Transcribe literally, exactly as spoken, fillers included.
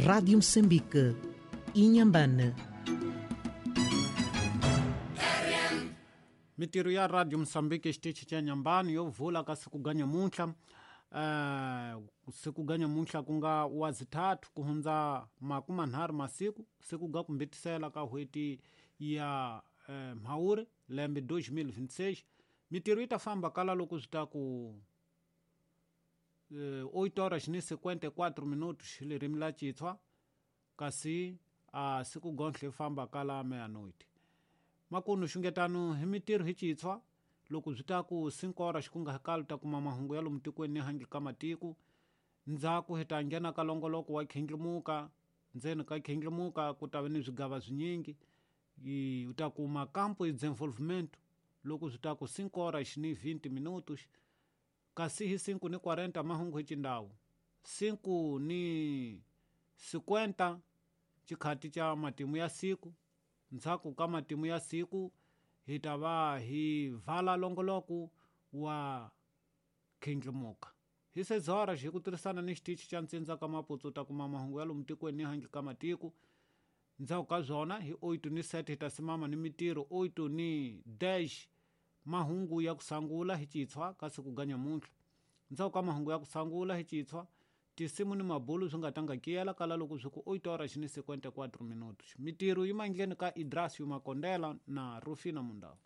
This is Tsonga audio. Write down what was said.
Rádio Moçambique, Inhambane. Mitirho ya Radio Moçambique xitichi xa Nyambani yo vula ka siku ga nyamuntlha uh, siku ga nyamuntlha ku nga wa zithathu ku hundza makumanharhu masiku siku ga ku mbitisela ka n'hweti ya uh, Mhawuri lembe dois mil vinte e seis. Mitirho yi ta famba kala loko swi ta ku uh, oito horas ni cinquenta e quatro minutos ririmi la Xitswa, kasi a uh, siku gontlhe famba kala meia-noite. Makunu xungetano hi mitirho hi Xitswa loko swi ta ku cinco horas ku nga hakali ta kuma mahungu ya lomu tikweni ni handle ka matiko. Ndzhaku hi ta nghena ka longoloko wa Khindlimuka, ndzeni ka Khindlimuka ku ta va ni swigava swinyingi. U ta kuma campo e desenvolvimento loko swi ta ku cinco horas ni vinte minutos, kasi hi cinco ni quarenta mahungu hi Xindau, cinco ni cinquenta xikhati xa matimu ya siku. Ndzhaku ka matimu ya siku hi ta va hi vala longoloko wa Khindlimuka. Hi seis horas hi ku tirhisana ni xitichi xa Ntsindza ka Maputsu ta kuma mahungu ya lomu tikweni ni handle ka matiko. Ndzhaku ka swona hi oito ni sete hi ta simama ni mitirho oito ni dez mahungu ya ku sangula hi Xitswa ka siku ga nyamuntlha. Ndzhaku ka mahungu ya ku sangula hi Xitswa tisimu ni mabulu swi nga tanga kiyela kala loko swi ku oito horas ni cinquenta e quatro minutos. Mitirho yi mandleni ka Idrasio Makondela na Rufina Mundau.